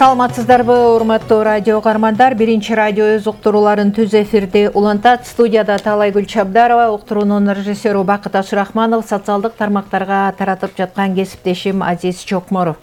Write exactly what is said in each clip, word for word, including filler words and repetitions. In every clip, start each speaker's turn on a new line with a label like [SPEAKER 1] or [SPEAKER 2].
[SPEAKER 1] Саламатсыздарбы, урматтуу радио каармандар. Биринчи радио өз уктурууларын түз эфирде улантат. Студияда Таалайгүл Чабдарова, уктуруунун режиссеру Бакыт Ашырахманов, социалдык тармактарга таратып жаткан кесиптешим Азиз Чокморов.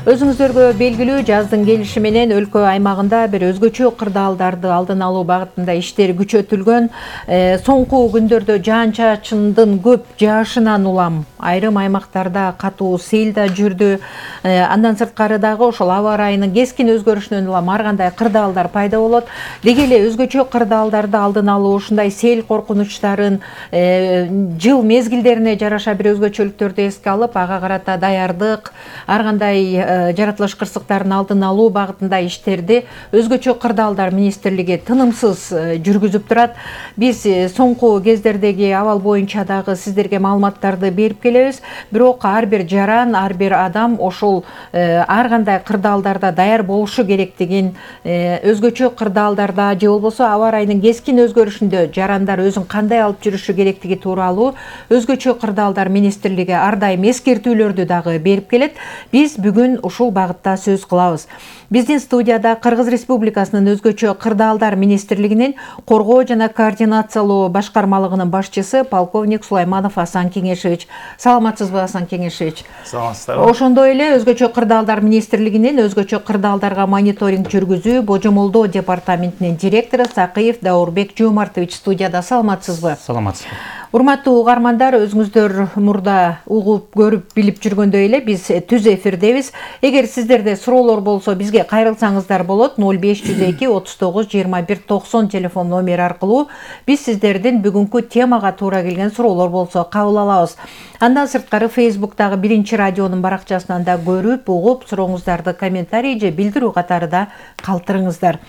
[SPEAKER 1] Өзүңүздөргө белгилүү, жаздын келиши менен өлкө аймагында бир өзгөчө кырдаалдарды алдын алуу багытында иштер күчөтүлгөн. Э, соңку күндөрдө жаан-чачындын көп жаашынан улам айрым аймактарда катуу сел да жүрдү. Э, андан сырткары дагы ошол аба ырайынын кескин өзгөрүшүнөн улам ар кандай кырдаалдар пайда болот. Деги эле өзгөчө кырдаалдарды алдын алуу, ушундай сел коркунучтарын э, жыл мезгилдерине жараша бир өзгөчөлүктөрдү эске алып, ага карата даярдык, ар кандай жаратылыш кырсыктарын алдын алуу багытында иштерди өзгөчө кырдаалдар министрлиги тынымсыз жүргүзүп турат. Биз соңку кездердеги абал боюнча дагы сиздерге маалыматтарды берип келебиз. Бирок ар бир жаран, ар бир адам ошол ар кандай кырдаалдарда даяр болушу керектигин, өзгөчө кырдаалдарда же болбосо аба ырайынын кескин өзгөрүшүндө жарандар өзүн кандай алып жүрүшү керектиги тууралуу өзгөчө кырдаалдар министрлиги ар дайым эскертүүлөрдү дагы берип келет. Биз бүгүн ушул багытта сөз кылабыз. Биздин студияда Кыргыз Республикасынын өзгөчө кырдаалдар министрлигинин коргоо жана координациялоо башкармалыгынын башчысы полковник Сулайманов Асан Кеңешевич. Саламатсызбы, Асан Кеңешевич?
[SPEAKER 2] Саламатсыздарбы.
[SPEAKER 1] Ошондой эле өзгөчө кырдаалдар министрлигинин өзгөчө кырдаалдарга мониторинг жүргүзүү божомолдоо департаментинин директору Сакыев Даурбек Жомартович студияда. Саламатсызбы?
[SPEAKER 2] Саламатсызбы.
[SPEAKER 1] Урматтуу угармандар, өзүңүздөр мурда угуп, көрүп, билип жүргөндөй эле биз түз эфирдебиз. Эгер сиздерде суроолор болсо, бизге кайрылсаңыздар болот. ноль беш жүз эки отуз тогуз жыйырма бир токсон телефон номери аркылуу биз сиздердин бүгүнкү темага туура келген суроолор болсо кабыл алабыз. Андан сырткары Фейсбуктагы биринчи радионун баракчасынан да көрүп, угуп, сурооңуздарды комментарий же билдирүү катары да калтырыңыздар.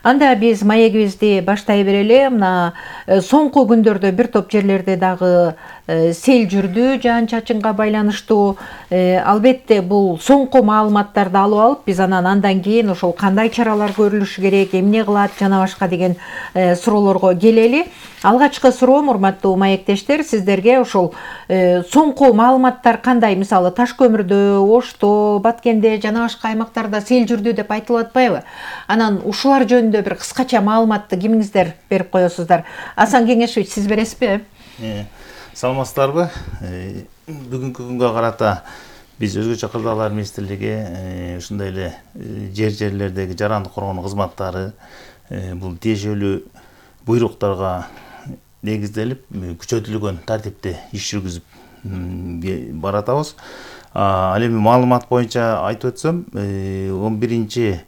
[SPEAKER 1] Анда биз маегибизди баштай берели. Мына соңку күндөрдө бир топ жерлерде дагы сел жүрдү жаан-чачынга байланыштуу. Албетте бул соңку маалыматтарды алып алып, биз анан андан кийин ошол кандай чаралар көрүлүшү керек, эмне кылат жана башка деген суроолорго келели. Алгачкы суроом, урматтуу маектештер, сиздерге ошол соңку маалыматтар кандай? Мисалы, Таш көмүрдө, Ошто, Баткенде жана башка аймактарда сел жүрдү деп айтылып атпайбы? Анан ушулар жөнүндө бир кыскача маалыматты кимиңиздер берип коесуздар? Асан Кеңешевич, сиз бересизби?
[SPEAKER 2] Саламатсыздарбы. Бүгүнкү күнгө карата биз өзгөчө кырдаалдар министрлиги ушундай эле жер-жерлердеги жарандык коргонуу кызматтары бул тиешелүү буйруктарга негизделип күчөтүлгөн тартипте иш жүргүзүп баратабыз. Ал эми маалымат боюнча айтып өтсөм, он биринчи